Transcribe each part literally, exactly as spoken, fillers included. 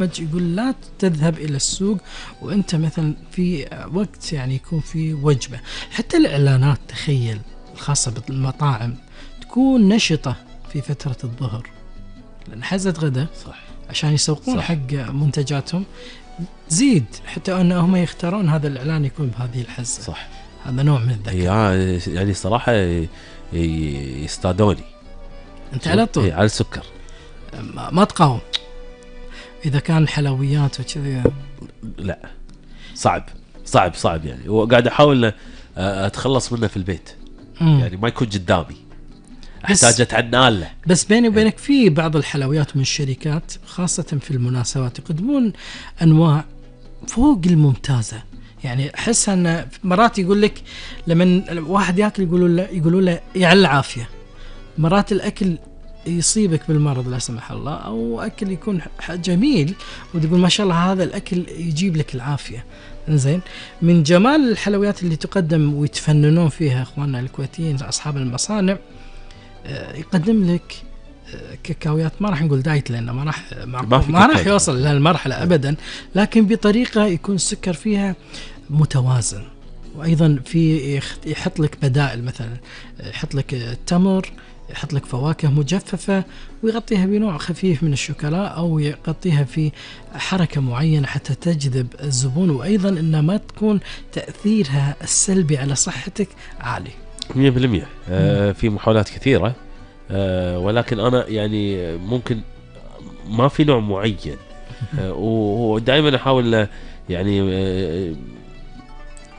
يقول لا تذهب إلى السوق وأنت مثلا في وقت يعني يكون في وجبة. حتى الإعلانات تخيل الخاصة بالمطاعم تكون نشطة في فترة الظهر لأن حزة غدا صح. عشان يسوقون صح. حق منتجاتهم زيد حتى أنهم يختارون هذا الإعلان يكون بهذه الحزة. صح. هذا نوع من الذكاء. يعني صراحة يستادوني أنت على طول على السكر ما تقاوم إذا كان حلويات وكذا. لا صعب صعب صعب يعني وقاعد أحاول أتخلص منه في البيت. مم. يعني ما يكون قدامي احتاج اتعنى له. بس بيني وبينك في بعض الحلويات من الشركات خاصة في المناسبات يقدمون أنواع فوق الممتازة. يعني أحس أن مرات يقول لك لما واحد يأكل يقولوا له يقولوا له يعلى العافية. مرات الأكل يصيبك بالمرض لا سمح الله أو أكل يكون جميل وتقول ما شاء الله هذا الأكل يجيب لك العافية. إنزين من جمال الحلويات اللي تقدم ويتفننون فيها إخواننا الكويتيين أصحاب المصانع يقدم لك كاكاويات ما راح نقول دايت لأنه ما راح ما, ما راح يوصل لهالمرحلة أبدا لكن بطريقة يكون السكر فيها متوازن. وأيضا في يحط لك بدائل مثلا يحط لك التمر يحط لك فواكه مجففة ويغطيها بنوع خفيف من الشوكولا أو يغطيها في حركة معينة حتى تجذب الزبون وأيضا إنها ما تكون تأثيرها السلبي على صحتك عالي. مية بالمية. آه في محاولات كثيرة آه ولكن أنا يعني ممكن ما في نوع معين آه ودائما أحاول يعني آه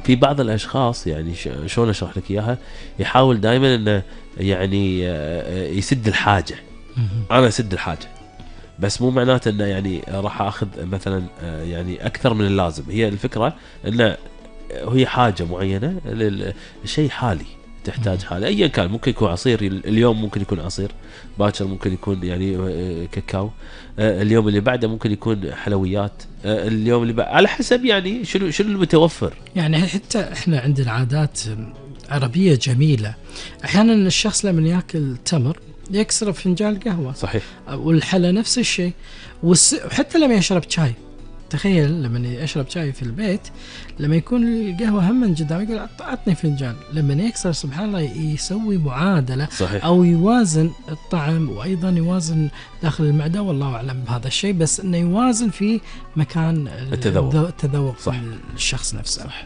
في بعض الأشخاص يعني شلون أشرح لك إياها يحاول دائما إنه يعني آه يسد الحاجة. أنا أسد الحاجة بس مو معناته إنه يعني راح أخذ مثلا آه يعني أكثر من اللازم. هي الفكرة إنه هي حاجة معينة للشيء حالي تحتاج حالة أيا كان. ممكن يكون عصير اليوم ممكن يكون عصير باكر ممكن يكون يعني كاكاو اليوم اللي بعده ممكن يكون حلويات اليوم اللي بعده على حسب يعني شنو شنو المتوفر. يعني حتى احنا عندنا عادات عربية جميلة. أحيانا الشخص لما يأكل تمر يكسر فنجان قهوة. صحيح. والحلا نفس الشيء وحتى لما يشرب شاي. تخيل لما يشرب شاي في البيت لما يكون القهوة هم من قدام يقول أعطني فنجان. لما يكسر سبحان الله يسوي معادلة. صحيح. أو يوازن الطعم وأيضا يوازن داخل المعدة والله أعلم بهذا الشيء بس إنه يوازن في مكان التذوق التذوق الشخص نفسه. صح.